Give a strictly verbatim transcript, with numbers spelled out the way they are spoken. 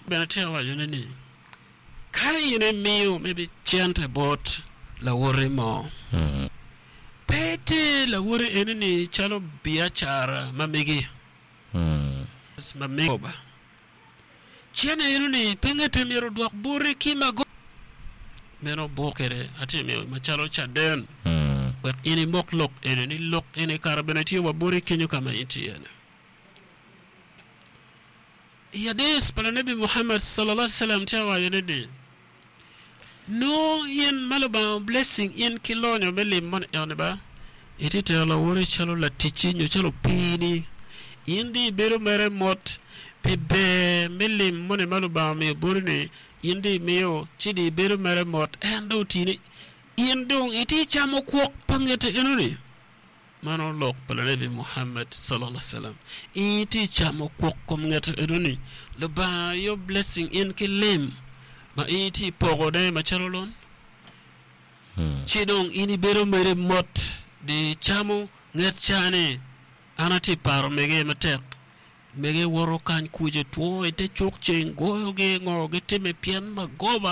Bene tye awacone ni ka in imiyo maybe cente bot lawoti mo Mm. pe iter lawoti eni ni calo biacara ma megi Mm. ma megi ba cene eno ni pe ngete myero odwok boti ki mago meno buk kede atye miyo macalo caden Mm. wek in imok lok eni ni lok eni kara bene tye wa boti kenyo ka ma in tye iye-ni. I hadith pa Lanebi Muhammad sallallahu alaihi wasallam tye awacone ni nongo in ma Lubanga blessing in ki lonyo me lim moni eni ba itye tero lawoti calo laticci nyo calo opiini in di ibedo mere mot pi ber me lim moni ma Lubanga omiyo boti ni in di imiyo ci di ibedo mere mot en dong otini in dong itye camo kwok pa ngete enoni mano lok pa Lanebi Muhammad sallallahu alaihi wasallam in itye camo kwok kom ngete enoni Lubanga yo blessing in ki lim ma in itye pokone macalo lon Mm. ci dong in ibedo mere mot di camo nget cani an atye paro mege matek mege woto kany kuce two ite cuk ceng goyogi ngo gitime pien magoba